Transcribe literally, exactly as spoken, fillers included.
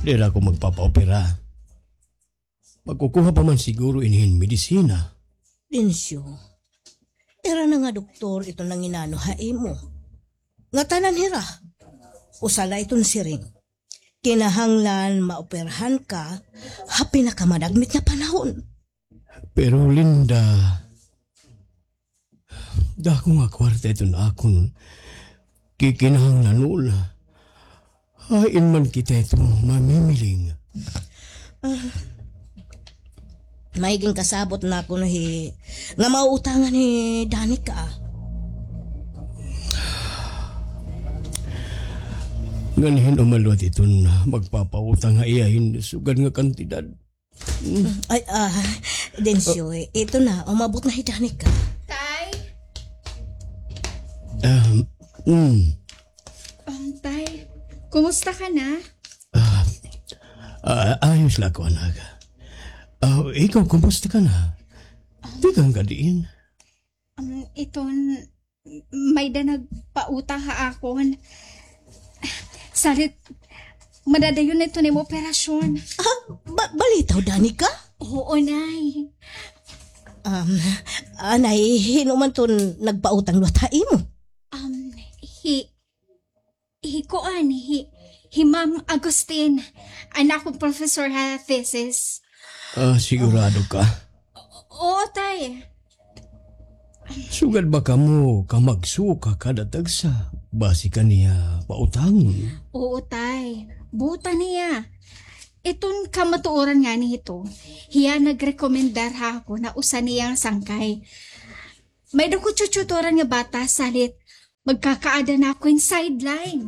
Diri ako magpapaopera. Magkukuha pa man siguro ini hin medisina. Densyo, ira na nga doktor ito nanginano ha imo. Ngatanan hira, usa la iton siring. Kinahanglan maoperahan ka ha pinakamadagmit nga panahon. Pero Linda, dako nga kwarta iton akon kikinahanglanon. Hain man kita ito mamimiling? Ah, may ginkasabot na ako no hi, nga mauutangan hi Danica. Ngan hin-o man liwat iton magpapautang ha iya hin sugad nga kantidad. Ay, ah, Densyo, eh, ito na, umabot na hi Danica. Tay? Ah, mm. Um, tay, kumusta ka na? Ah, ah, ayos la ako, anak. Ah, ikaw, kumusta ka na? Tikang ka diin? Um, iton, may-ada nagpautang ha akon. Salit, madadayon na iton imo operasyon. Ah, ba-, balitaw, Danica? Oo, Nay. Um, anay, hin-o man iton nagpautang liwat ha imo? Um, hi, hi kuan, hi, hi Ma'am Agustin, an akon professor ha thesis. Ah, sigurado ka? Oo, tay. Sugad ba kamo ka magsuka kada tagsa, basi ka niya pautangon? Oo, tay. Buta niya. Iton kamatuoran ngani hito, hiya nagrekomendar ha akon na usa niya nga sangkay. May-ada ko tututoran nga bata, salit magkakaada na ako hin sideline.